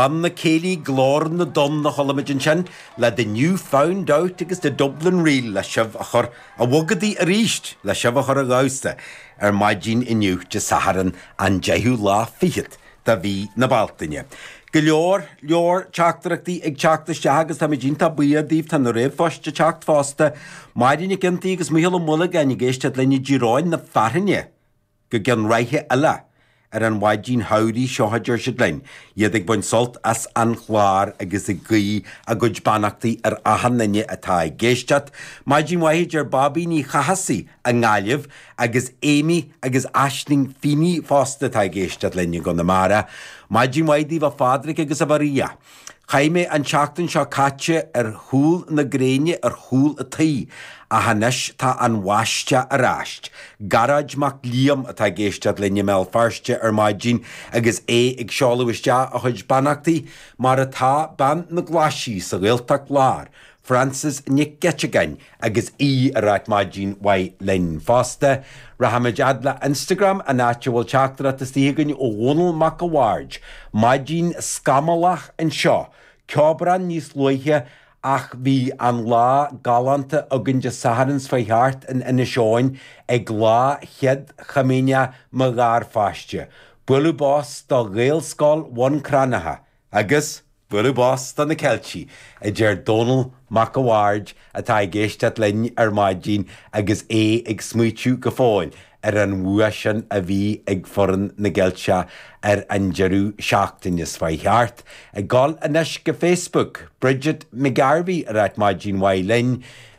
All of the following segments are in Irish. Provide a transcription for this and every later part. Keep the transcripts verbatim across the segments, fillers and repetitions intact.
Banna Céilí Glór na dTonn a chuala muid ansin le The New Found Out agus The Dublin Reel le sibh a chur a bhogadaí arís le sibh a chur a dhamhsa ar maidin inniu Dé Sathairn an deichiú lá fichead de mhí na Bealtaine. Go leor leor teachtaireachtaí ag teacht isteach agus táimid iontach buíoch díobh tá na ríomhphoist ag teacht fosta. Máire Nic Iontaí agus Mícheál Ó Muilleagáin ag éisteacht linn i dTír Eoghain na Fearthainne go gceann ráithe eile ar an mhaidin shamhraidh seo a deir siad linn, iad ag baint sult as an chlár agus ag guí a gcuid beannachtaí ar achan duine atá ag éisteacht. Maidin mhaith deir Bobby Ní Chathasaigh i nGaillimh agus Amy agus Aisling Feeney fosta atá ag éisteacht linn i gConamara. Maidin mhaith daoibh a Phádraig agus a Mharia. Chaith mé an tseachtain seo caite ar chúl na gréine ar chúl an tí, ach anois tá an bháisteach ar ais. Gearóid Mac Liam atá ag éisteacht linn i mBéal Feirste ar maidin agus é ag seoladh isteach a chuid beannachtaí mar atá bean na glaisí sa Ghaeltacht Lár. Francis Nic Geiteagáin agus í ag ráit maidin mhaith linn fosta. Rachaimid fhad le Instagram an áit a bhfuil teachtaireacht istigh againn ó Dhónall Mac a Bhaird. Maidin scamallach anseo. Ceobrán níos luaithe ach bhí an lá galánta againn Dé Sathairn seo thart in Inis Eoghain ag lá chéad chomaoineach mo gharpháiste. Bualadh bos do Ghaelscoil Bhun Cranncha agus bualadh bos do na Ceiltigh a deir Dónall Mac a Bhaird atá ag éisteacht linn ar maidin agus é ag smaoitiú go fóill ar an bhua sin a bhí ag foireann na gCeilteach ar an deireadh seachtaine seo thart. Ag dul anois go Facebook, Bridget McGarvey ag ráit maidin mhaith linn,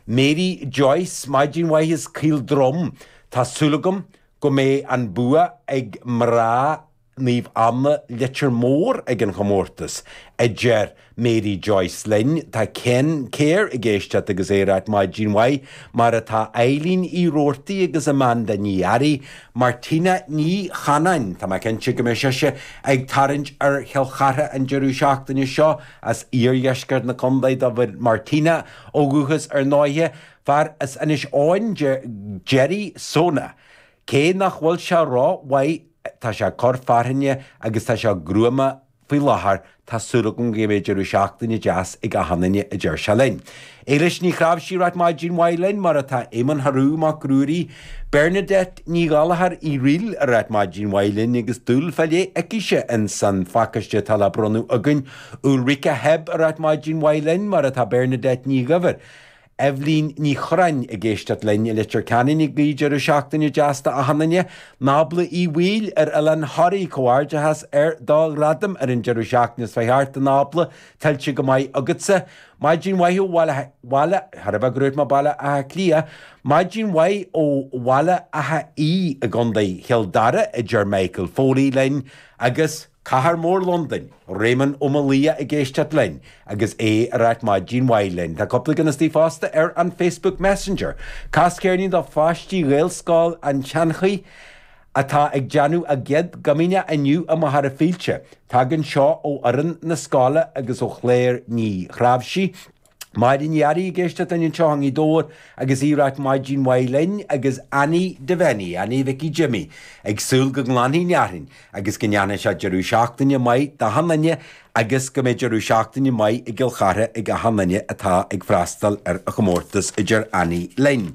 Mary Joyce maidin mhaith as Caol Drum, Tá súil agam go mbeidh an bua ag mná Naomh Anna Leitir Móir ag an chomórtas a deir Mary Joyce linn tá Ken Céir ag éisteacht agus é ag ráit maidin mhaith mar atá Eileen Uí Roarty agus Amanda Ní Airí, Martina Ní Chanáin Tá mé cinnte go mbeidh sise ag tarraingt ar Chill Chartha an deireadh seachtaine seo as iardheisceart na contae do Martina ó dhúchas ar ndóighe, fear as Inis Eoghain Jerry Sona. Cé nach bhfuil sé rómhaith tá sé cor fearthainne agus tá sé gruama faoi láthair tá súil agam go mbeidh deireadh seachtaine deas ag achan duine a deir sé linn. Éilis Ní Chráimhsí ag ráit maidin mhaith linn mar atá Éamonn Tharú Mac Ruairí, Bernadette Ní Ghallachair í ríl ag ráit maidin mhaith linn agus dúil fá leith aicise in san phacáiste atá le bronnadh againn, Ulrika Heb ag ráit maidin mhaith linn mar atá Bernadette Ní Ghaibhir. Evelyn Ní Chorráin ag éisteacht linn i Leitir Ceanainn ag guí deireadh seachtaine deas d'achan duine, Nábla Uí Bhaoill ar Oileán Thoraí comhghairdeachas ar do ghradam ar an deireadh seachtaine seo thart a Nábla tuillte go maith agatsa. Maidin mhaith ó Bhaile Bhaile thar a bheith grúit má Baile Átha Cliath, Maidin mhaith ó Bhaile Átha Í i gContae Chill Dara a deir Michael Foley linn agus Cathair Mór Londain, Réamonn Ó Malia ag éisteacht linn agus é ag ráit maidin mhaith linn. Tá cúpla ceann istigh fosta ar an Facebook Messenger. Cas ceirnín do pháistí Ghaelscoil an tSeanchaí atá ag déanamh a gcéad chomaoineach inniu i Machaire Fílte. Tagann seo ó fhoireann na scoile agus ó Chléir Ní Chráimhsí. Máire Ní Fhearraigh ag éisteacht linn anseo i nGaoth Dobhair agus í ag ráit maidin mhaith linn agus Annie Devenny, Annie Vicky Jimmy, ag súil go nglanfaidh an fhearthainn agus go ndéanfaidh sé deireadh seachtaine maith d'achan duine agus go mbeidh deireadh seachtaine maith i gCill Chartha ag achan duine atá ag freastal ar a chomórtas a deir Annie linn.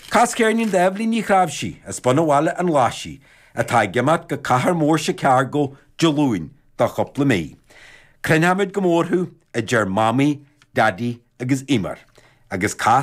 Cas ceirnín d'Eibhlín Ní Chráimhsí as Bunabhaile an Ghlaisigh atá ag imeacht go cathair mór Chicago Dé Luain do chúpla mí. Cluinfimid go mór thú a deir Mamaí, Daddy agus Emer, agus cas